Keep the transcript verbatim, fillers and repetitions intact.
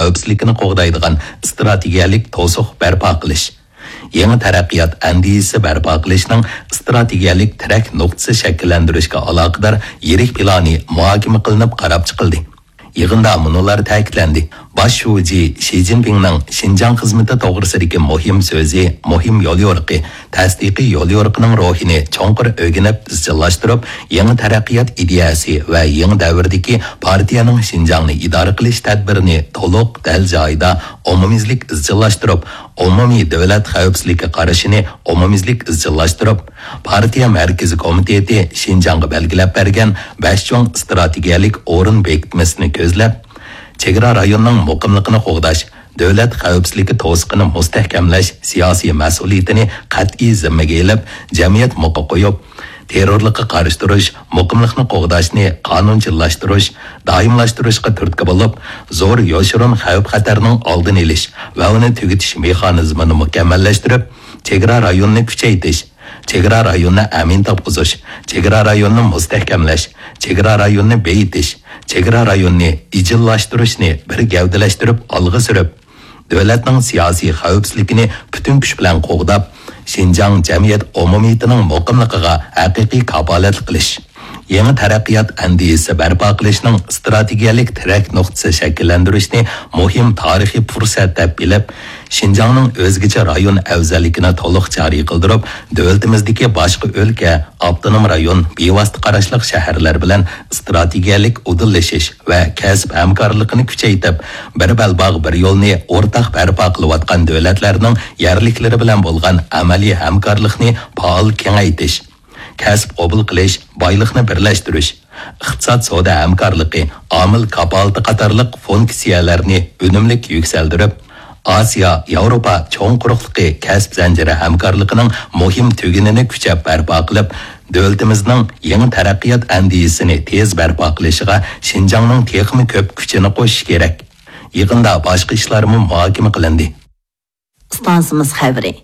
خەۋپسىزلىكىنى قوغدايدىغان ئىستراتېگىيەلىك توسۇق بەرپا قىلىش، يېڭى تەرەققىيات ئەندىزىسى بەرپا قىلىشنىڭ ئىستراتېگىيەلىك تىرەك نۇقتىسى شەكىللەندۈرۈشكە ئالاقىدار يىرىك پىلانى مۇھاكىمە قىلىنىپ قاراپ چىقىلدى. يىغىندا مۇنۇلار تەكىتلەندى: باش شۇجى شى جىنپىڭنىڭ شىنجاڭ خىزمىتى توغرىسىدىكى مۇھىم سۆزى، مۇھىم يوليورۇقى، تەستىقىي يوليورۇقىنىڭ روھىنى چوڭقۇر ئۆگىنىپ ئىزچىللاشتۇرۇپ، يېڭى تەرەققىيات ئىدىيەسى ۋە يېڭى دەۋردىكى پارتىيەنىڭ شىنجاڭنى ئىدارە قىلىش تەدبىرىنى تولۇق، دەل جايىدا، ئومۇميۈزلۈك ئىزچىللاشتۇرۇپ، ئومۇمىي دۆلەت خەۋپسىزلىكى قارىشىنى ئومۇميۈزلۈك ئىزچىللاشتۇرۇپ، پارتىيە مەركىزىي كومىتېتى شىنجاڭغا بەلگىلەپ بەرگەن بەش چوڭ ئىستراتېگىيەلىك ئورۇن بېكىتمىسىنى كۆزلەپ، چېگرا رايونىنىڭ مۇقىملىقىنى قوغداش، دۆلەت خەۋپسىزلىكى توسۇقىنى مۇستەھكەملەش سىياسىي مەسئۇلىيىتىنى قەتئىي زىممىگە ئېلىپ، جەمئىيەت موقا قويۇپ، تېررورلۇققا قارشى تۇرۇش، مۇقىملىقنى قوغداشنى قانۇنچىللاشتۇرۇش، دائىملاشتۇرۇشقا تۈرتكە بولۇپ، زور يوشۇرۇن خەۋپ-خەتەرنىڭ ئالدىنى ئېلىش ۋە ئۇنى تۈگىتىش مېخانىزمىنى مۇكەممەللەشتۈرۈپ، چېگرا رايونىنى كۈچەيتىش، چېگرا رايونىنى ئەمىن تاپقۇزۇش، چېگرا رايونىنى مۇستەھكەملەش، چېگرا رايونىنى بېيىتىش، چېگرا رايونىنى ئىجىللاشتۇرۇشنى بىر گەۋدىلەشتۈرۈپ ئالغا سۈرۈپ، دۆلەتنىڭ سىياسىي خەۋپسىزلىكىنى پۈتۈن كۈچ بىلەن قوغداپ، شىنجاڭ جەمئىيەت ئومۇمىيىتىنىڭ مۇقىملىقىغا ھەقىقىي كاپالەتلىك قىلىش، يېڭى تەرەققىيات ئەندىزىسى بەرپا قىلىشنىڭ ئىستراتېگىيەلىك تىرەك نۇقتىسى شەكىللەندۈرۈشنى مۇھىم تارىخىي پۇرسەت دەپ بىلىپ، شىنجاڭنىڭ ئۆزگىچە رايون ئەۋزەللىكىنى تولۇق جارى قىلدۇرۇپ، دۆلىتىمىزدىكى باشقا ئۆلكە، ئاپتونوم رايون، بىۋاسىتە قاراشلىق شەھەرلەر بىلەن ئىستراتېگىيەلىك ئۇدۇللىشىش ۋە كەسىپ ھەمكارلىقىنى كۈچەيتىپ، بىر بەلباغ، بىر يولنى ئورتاق بەرپا قىلىۋاتقان دۆلەتلەرنىڭ يەرلىكلىرى بىلەن بولغان ئەمەلىي ھەمكارلىقنى پائال كېڭەيتىش، كەسىپ قوبۇل قىلىش، بايلىقنى بىرلەشتۈرۈش، ئىقتىساد سودا ھەمكارلىقى، ئامىل كاپالىتى قاتارلىق فۇنكسىيەلەرنى ئۈنۈملۈك يۈكسەلدۈرۈپ، ئاسىيا، ياۋروپا چوڭ قۇرۇقلۇقى كەسىپ زەنجىرى ھەمكارلىقىنىڭ مۇھىم تۈگۈنىنى كۈچەپ بەرپا قىلىپ، دۆلىتىمىزنىڭ يېڭى تەرەققىيات ئەندىزىسىنى تېز بەرپا قىلىشىغا شىنجاڭنىڭ تېخىمۇ كۆپ كۈچىنى قوشۇشى كېرەك. يىغىندا باشقا ئىشلارمۇ مۇھاكىمە قىلىندى. ئىستانسىمىز خەۋىرى.